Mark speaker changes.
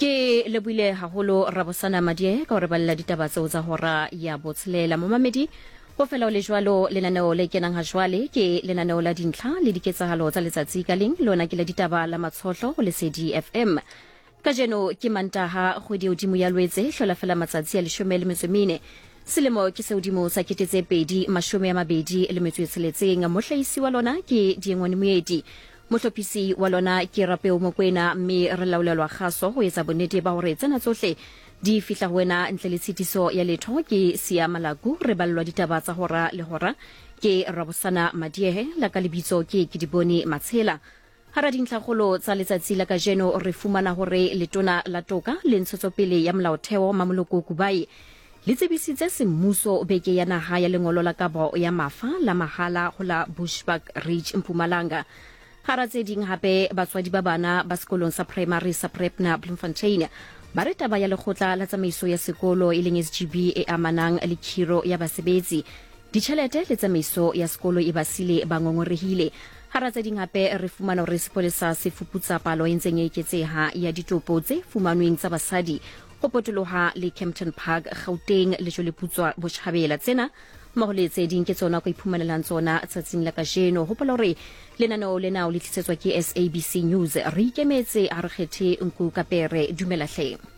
Speaker 1: Ke lebohile haholo Rabosana Madie ka ho re balela ditaba tseo tsa hora ya botshelela. Momamedi, ho fela ho le jwalo, lenaneo le kenang ha jwale ke lenaneo la dintlha le diketsahalo tsa letsatsi ka leng, lona ke la ditaba la Matshohlo ho Lesedi FM. Kajeno ke Mantaha, kgwedi e hodimo ya Lwetse, hlola fela matsatsi a 14. Selemo ke se hodimo sa 2026. Mohlahisi wa lona ke Diengwane Moeti. Mohlophisi wa lona ke Rapeo Mokwena mme re laolelwa kgaso ho etsa bonnete ba hore tsena tsohle di fihla ho wena ntle le tshitiso ya letho. Ke Siya Malaku, re ballwa ditaba tsa hora le hora ke Rabosana Madiehe, la ka lebitso ke Kedibone Matshela. Hara dintlhakgolo tsa letsatsi la kajeno re fumana hore Letona la Toka le Ntshetsopele ya Molaotheo Mamoloko Kubayi le tsebisitse semmuso beke ya naha ya lengolo la kabo ya mafa la mahala ho la Bushbuck Ridge Mpumalanga. Hara tse ding hape batswadi ba bana ba sekolong sa primary sa Prepna Bloemfontein ba re taba ya lekgotla la tsamaiso ya sekolo e leng SGB e amanang le khiro ya basebetsi Ditjhelete le tsamaiso ya sekolo e ba sile ba ngongorehile. Hara tse ding hape re fumana hore sepolesa se fuputsa palo e ntseng e eketseha ya ditopo tse fumanweng tsa basadi ho potoloha le Kempton Park, Gauteng, Lejweleputswa Botjhabela. Tsena mmoho le tse ding ke tsona o ka iphumanelang tsona tsatsing la kajeno. Hopola hore lenaneo lena o le tlisetswa ke SABC News. Re ikemetse, ha re kgethe nku ka pere. Dumela hle.